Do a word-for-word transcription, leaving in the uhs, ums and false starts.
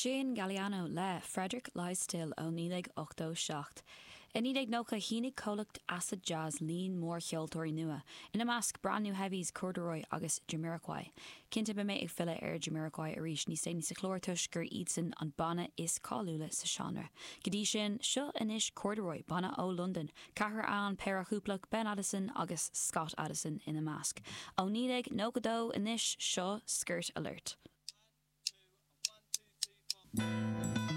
Sin Galliano le Frederick Lies Still ó naoi déag ochtó seacht. I naoi déag nócha shínigh comhlacht Acid Jazz líon mór ceoltóirí nua, ina measc Brand New Heavies, Corduroy agus Jamiroquai. Cinnte beidh mé ag filleadh ar Jamiroquai arís níos déanaí sa chlár toisc gur iadsan an banna is cáiliúla sa seánra. Go dtí sin seo anois Corduroy banna ó Londain, ceathrar ann péire cúplach Ben Addison agus Scott Addison ina measc. Ó naoi déag nócha dó anois seo Skirt Alert. One, two, three, four.